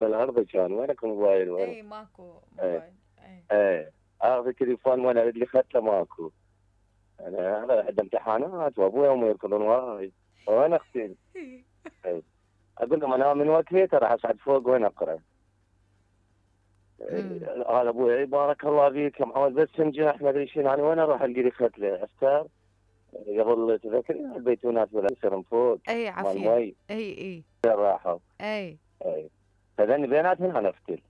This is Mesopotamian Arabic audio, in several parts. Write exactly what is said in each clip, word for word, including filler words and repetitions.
بالارض كان وينك موبايل وين؟ اي ماكو ايه موبايل. اي ايه اخذ التليفون وانا اللي اخذته ماكو. انا انا عندي امتحانات وابوي وامي يركضون وراي. وين اختي؟ ايه اقول لهم انا من وقتي راح اصعد فوق وين اقرا. امم إيه، هذا ابوي إيه، بارك الله فيك يا معود بس تنجح ما ادري شنو انا وين اروح القى لي ختله افتر قبل تذكرين البيتونات ولا يصير فوق اي مال عافية. مي اي اي راحوا. اي ايه فذني بيناتهم انا افتل.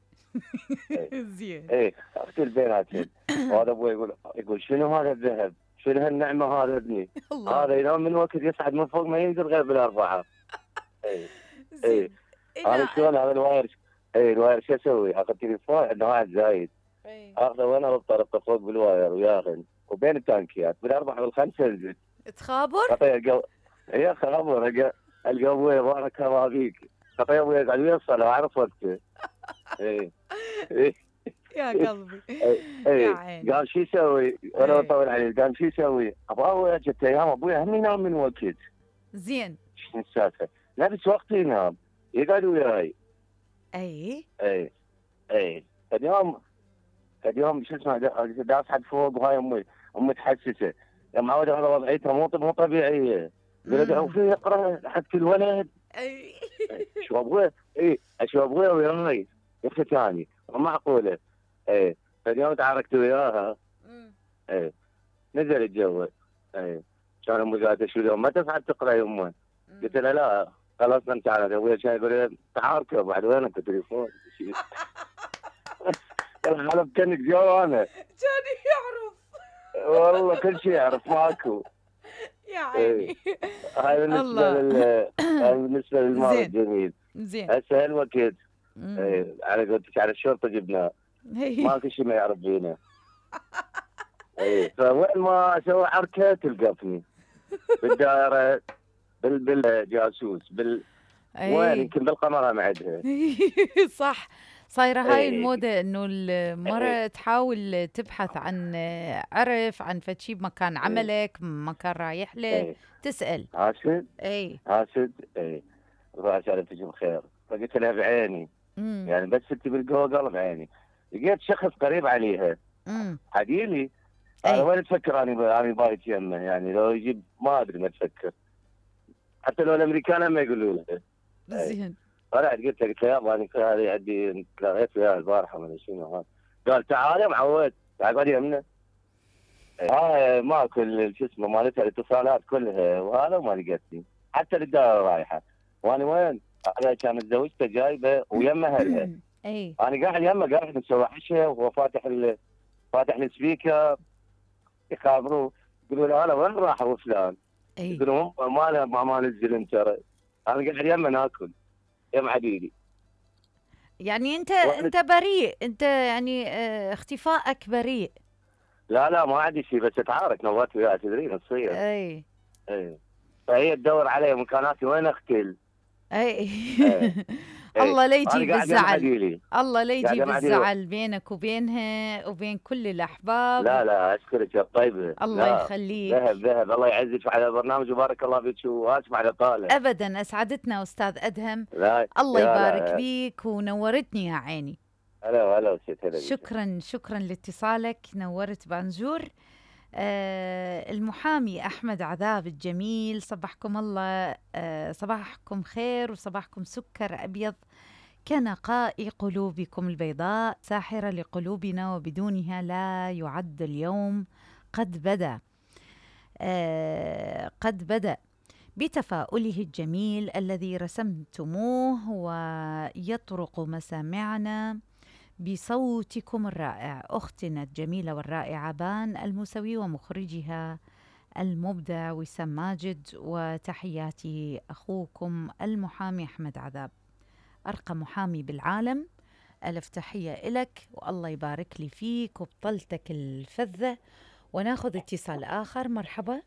ايه زين. ايه افتل بيناتهم. وهذا ابوي يقول يقول شنو هذا الذهب؟ شنو هالنعمه هذا ابني؟ الله هذا عليك. ينام من وقت يصعد من فوق ما ينزل غير بالاربعه. ايه ايه زين. انا انا شلون هذا الواير. ايه الواير شو اسوي؟ اخذ تليفون عندنا واحد زايد اي اخذه وانا اربطه فوق بالواير وياخذ وبين التانكيات بالاربعه والخمسه انزل. تخابر. خطيه القو هي خبر القى ابوي بارك الله فيك. خطيه ابوي قاعد يوصل اعرف وقته. ايه ايه يا قلبي. ايه يا ايه عيني. قال شو يسوي؟ وانا اي اطول عليه قال شو يسوي؟ ابوي جت ايام ابوي هم ينام من وقت. زين. شنو السالفه؟ نفس وقت ينام يقعد وياي. اي ايه ايه اليوم اليوم شو اسمه دا- داس حد فوق وهاي امي امي تحسسه يا معود هذا وضعيته مو مو طبيعيه. يقول ادعوا امم فيه يقرا حق الولد. اي شو ابوي ايه شو ابوي وياي يا اخي ثاني مو معقوله. ايه فاليوم تعاركت وياها. أمم. ايه نزل الجو. ايه كان امي قالت شو اليوم ما تصعد تقرا يا امه؟ قلت أمم. لها لا خلاص انت على ابوي كان يقول لي تعاركوا بعد وينك التليفون؟ قال انا بكنك جو انا. كان يعرف. والله كل شيء يعرف ماكو. يا ايه عيني. هاي بالنسبه الله. لل هاي بالنسبه للماضي زين الجميل. زين. هسه هالوقت امم ايه على قولتك على الشرطه جبناه هي. ماكو شيء ما يعرف فينا. ايه فوين ما اسوي حركه تلقفني بالدائره بال بالجاسوس بال وين اي يمكن بالقمره معدها. صح. صايرة هاي ايه الموضة انه ايه المرة تحاول تبحث عن عرف عن فشي بمكان ايه عملك مكان رايح له ايه تسأل. حاسد اي حاسد ايه روح سالفتك بخير فقلت لها بعيني امم يعني بس انت بالجوجل بعيني لقيت شخص قريب عليها امم حديلي. انا اي وين تفكر اني اني بايت يمه يعني لو يجيب ما ادري ما تفكر حتى لو الامريكان ما يقولوا له. اي زين. طلعت قلت له قلت له يابا انا هذه عندي تلاقيت وياه البارحه ما ادري شنو هذا. قال تعال يا معود تعال اقعد يمنا. هاي ماكو ال- شو اسمه مالتها الاتصالات كلها وهذا وما لقيتني حتى الدائره رايحه. وانا وين؟ انا كانت زوجته جايبه ويمه اهلها. اي انا قاعد يمه قاعد نسوي عشاء وهو فاتح ال... فاتح السبيكر يخابروه يقولوا له هلا وين راح ابو فلان؟ اي يقولوا ما له ما ما نزل انت ترى. انا قاعد يمه ناكل يم عديدي. يعني انت وأنا- انت بريء انت يعني اه اختفائك بريء. لا لا ما عندي شيء بس اتعارك نوات وياها تدرين تصير. اي ايه فهي تدور علي مكاناتي وين اختل. اي ايه ايه الله لا يجيب انا قاعد يم الزعل. عديلي الله لا قاعد يجيب يم عديلي. الزعل بينك وبينها وبين كل الأحباب. لا لا اشكرك يا طيبه الله لا ذهب يخليك. ذهب الله يعزك على البرنامج وبارك الله فيك واسمع على طاله. أبدا أسعدتنا أستاذ أدهم. لا الله يا يبارك لا بيك ونورتني يا عيني. هلا هلا وسهلا هلا بك. شكرا شكرا لاتصالك نورت بانجور. آه المحامي أحمد عذاب الجميل صبحكم الله. آه صباحكم خير وصباحكم سكر أبيض كنقاء قلوبكم البيضاء ساحرة لقلوبنا وبدونها لا يعد اليوم قد بدأ. آه قد بدأ بتفاؤله الجميل الذي رسمتموه ويطرق مسامعنا بصوتكم الرائع. أختنا الجميلة والرائعة بان الموسوي ومخرجها المبدع وسام ماجد وتحياتي أخوكم المحامي أحمد عذاب أرقى محامي بالعالم. ألف تحية إلك والله يبارك لي فيك وبطلتك الفذة. وناخذ اتصال آخر. مرحبا.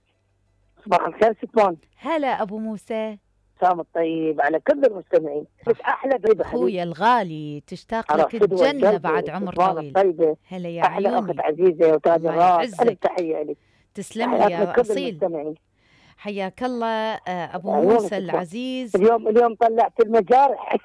صباح الخير ستمان. هلا أبو موسى. سام الطيب على كل المستمعين. بس احلى ضيبه أخويا الغالي تشتاق على لك فدوى الجنة القلب بعد عمر ستمان طويل. الطيبه. هلا يا احلى اخت عيوني. عزيزه وتاج الله الراس. الف يعزك. تحيه لك. تسلم لي تحياتنا يا لكل أصيل. المستمعين. حياك الله. آه، أبو عيونك موسى ستمان. العزيز. اليوم اليوم طلعت المجارح.